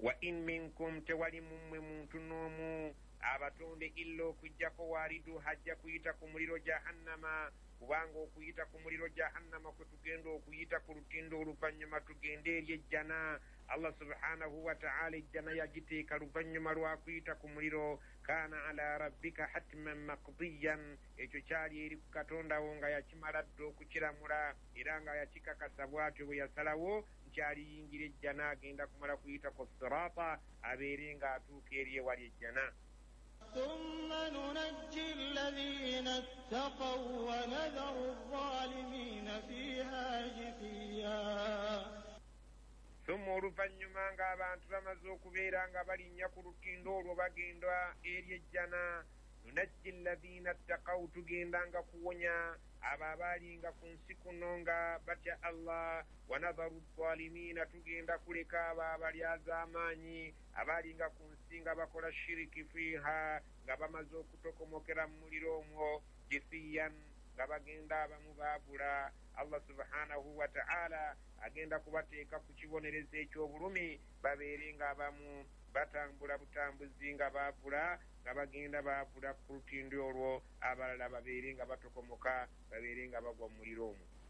Wa in minkum, tewali mummwe muntu n'omu abatonde, illa okuggyako waaridu, hajja kuyita ku muliro Jahannama, kubanga okuyita ku muliro Jahannama kwe tugenda okuyita ku lutindo, oluvannyuma tugende eri ejjana. Allah subhanahu wataala ejjana yagiteeka luvannyuma lwa kuyita ku muliro. Kaana ala rabbika hatman makdiyan, ekyo kyali eri ku Katondawo nga yakimala dda okukiramula era nga yakikakasa. Bw'atyo bwe yasalawo nti aliyingira ejjana agenda kumala kuyita ku sirata, abeere ng'atuuka eri ewali ejjana. ثم ننجي الذين اتقوا ونذر الظالمين فيها جثيا. Summa, oluvannyuma ng'abantu bamaze okubeera nga balinnya ku lutindo olwo bagenda eri ejjana, nunajji alladhiina ttakaw, tugenda nga kuwonya abo abaalinga ku nsi kuno nga batya Allah. Wanadharu zalimiina, tugenda kuleka abo abalyazaamaanyi abaalinga ku nsi nga bakola shiriki, fiiha, nga bamaze okutokomokera mu muliro omwo, jithiyan, nga bagenda abamu baabula. Allah subhanahu wataala agenda kubateeka ku kibonerezo eky'obulumi, babeere nga abamu batambula butambuzi nga baavula, nga bagenda baavula ku lutindo olwo, abalala babeere nga batokomoka, babeere nga bagwa mu muliro omwo.